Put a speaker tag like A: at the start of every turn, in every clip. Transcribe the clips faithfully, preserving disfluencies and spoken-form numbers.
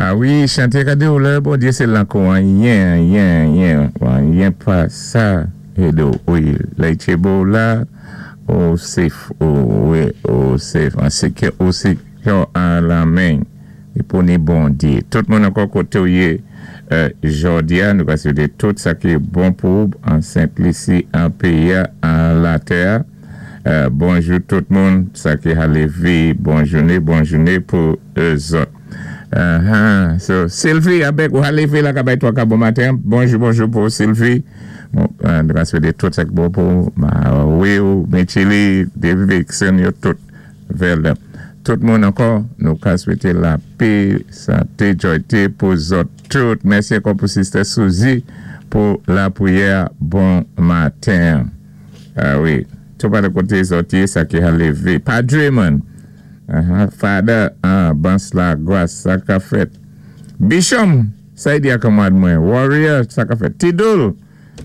A: Ah wi, chanté ka di ou lè Bondyé sé lankou anyen, anyen, anyen, anyen pa sa édé ou. Wi, lè i tjébo la, ou safe, ou, wi, ou safe, an séki, ou séki an lan men, i pou ni Bondyé. Tout moun ankò koté ou yé jòdi a, nou ka swété tout sa ki bon pou an Sent-Lisi, an péyi a, an latè. Bonjou tout moun, sa ki a lévé, bon jouné, bon jouné pou zòt. Uh-huh. So, Sylvie, abèk ou a lévé la ka bay twa ka bon maten. Bonjou, bonjou pou Sylvie. Bon, nou ka swété tout sa ki bon pou Will, Micheli, David Vixen, yo tout. Velda. Tout moun ankò, nou ka swété lapè, santé, jòyté pou zòt tout. Mèsi ankò pou Sister Suzy pou lapwiyè bon maten. Ah wi, tout pa de koté zòt yé, sa ki a lévé. Padre man. Uh-huh. Father, ah, Bans la gwas, sa ka fèt. Bishop, sa yi di akamad mwen. Warrior, sa ka fèt. Tidul,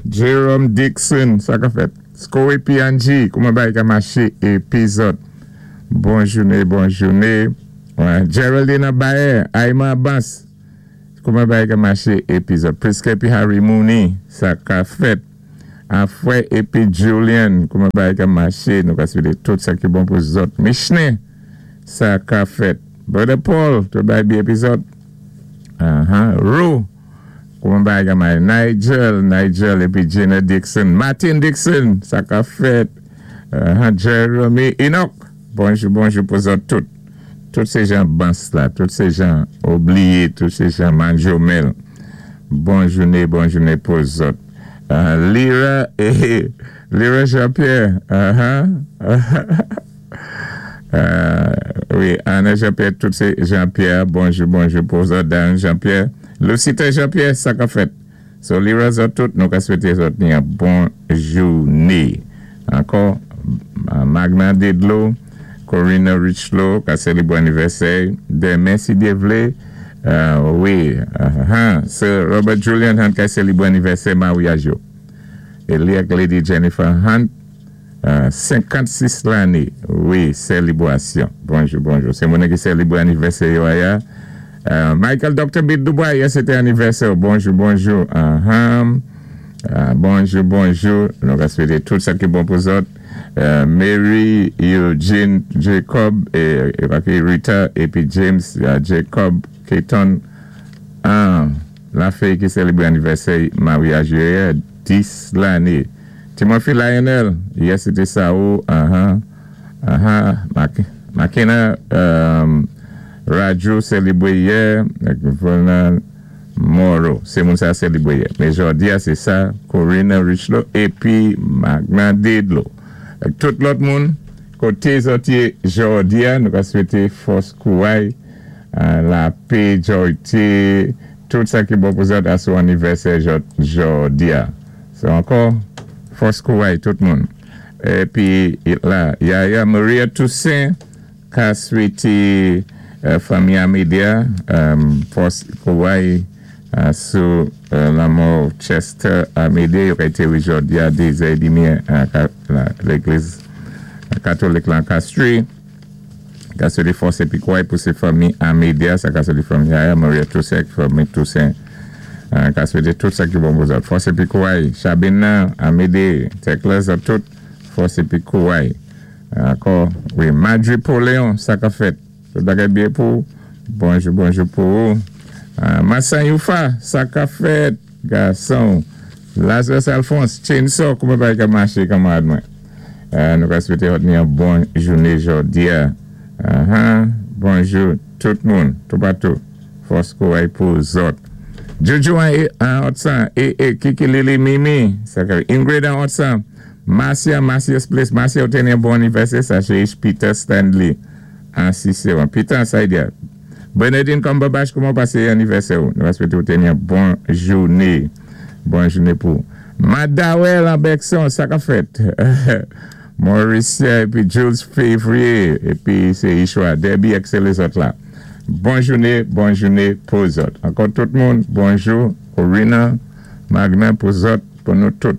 A: Jerome Dixon, sa ka fèt. Skowe P N G, kouman bay ka maché épizòd. Bon jouné, bon jouné. Geraldine Bayer, Ayman Abbas, kouman bay ka maché épizòd. Priske épi Harry Mooney, sa ka fèt. Afwe épi Julian, kouman bay ka maché, nou ka swété tout sa ki bon pou zòt. Michne, sa ka fèt. Brother Paul, tout bay bi épizòd. Uh-huh. Rou, kouman bay ka maché. Nigel, Nigel épi Gina Dixon. Martin Dixon, sa ka fèt. Uh-huh. Jeremy Enoch, bonjou, bonjou pou zòt tout. Tout sé jan Bans la, tout sé jan Oubliyé, tout sé jan Manjomel. Bon jouné, bon jouné pou zòt. Uh, Lira, eh, Lira Jean-Pierre, uh-huh. uh, wi, Anna Jean-Pierre, tout sé Jean-Pierre, bonjou, bonjou pou zòt, Dan Jean-Pierre. Lucita Jean-Pierre, sa ka fèt. So, Lira zòt tout, nou ka swété zòt ni yon bon jouné. Ankò, Magna Dedlo, Corina Richlow, ka sélébwé anivèsè, denmen si Dyé vlé, uh, wi, uh, Sir Robert Julian Hunt ka sélébwé anivèsè maryaj yo. É li ak Lady Jennifer Hunt, uh, senkannsis lanné, wi, sélébwasyon. Bonjou, bonjou. Sé moun ki sélébwé anivèsè yo aya. Uh, Michael Doctor Bit Dubois, yè sété anivèsè. Bonjou, bonjou. Uh-huh. Uh, bonjou, bonjou. Nou ka swété tout sa ki bon pou zòt. Uh, Mary Eugene Jacob é, é Rita épi James uh, Jacob Keaton. Ah, la féy ki sélébwé anivèsè maryaj yè, dis lanné. Timothy Lionel, yè sété sa ou, uh-huh, uh-huh, Makena um, Raju sélébwé yè, Vernon Morrow, sé moun sa sélébwé yè. Mais jòdi a, sé sa, Corina Richlow, épi Magna Dedlo. Tout lòt moun, koté zòt yé jòdi a, nou ka swété fòs kouray, lapè, jòyté, tout sa ki bon pou zòt asou anivèsè jòdi a. So ankò, fòs kouray tout moun. Épi la, Yaya Maria Toussaint ka swété fanmi Amedia, fòs kouray sou lanmò Chester Amedia, yo ka étéré jòdi a dé édmi légliz katolik lan Castries. Ka swété fòs épi kouray pou sé fanmi Amedia, sa ka swété fanmi Yaya Maria Toussaint, fanmi Toussaint. Ka swété tout sa ki bon pou zòt. Fòs épi kouray, Chabina, Amédée, Tekla, zòt tout, fòs épi kouray. Ankò, wi, Madri Poléon, sa ka fèt. Tout bagay byen pou, bonjou, bonjou pou ou. Massan Youfa, sa ka fèt, gason. Lazarus Alphonse, Chainsaw, kouman bay ka maché kanmarad mwen. Nou ka swété zòt ni yon bon jouné jòdi a. Bonjou, tout moun, toupatou. Fòs kouray pou zòt. Jojo an Otsan, e, e, Kiki Lili Mimi, Ingrid an Otsan, Marcia, Marcia's Place, Marcia ou té ni yon bon anivèsè, sa sé Peter Stanley, an Cicéron. Peter an Saidia. Bernadine Cumberbatch, kouman pasé anivèsè ou? Nou ka swété ou té ni yon bon jouné. Bon jouné pou. Madawel an Bekson, sa ka fèt. Mauricia, épi Jules Février, épi sé Ishwa, Debbie ak sé lézòt la. Bon jouné, bon jouné pou zòt. Ankò tout moun, bonjou, Corina, Magna pou zòt, pou nou tout.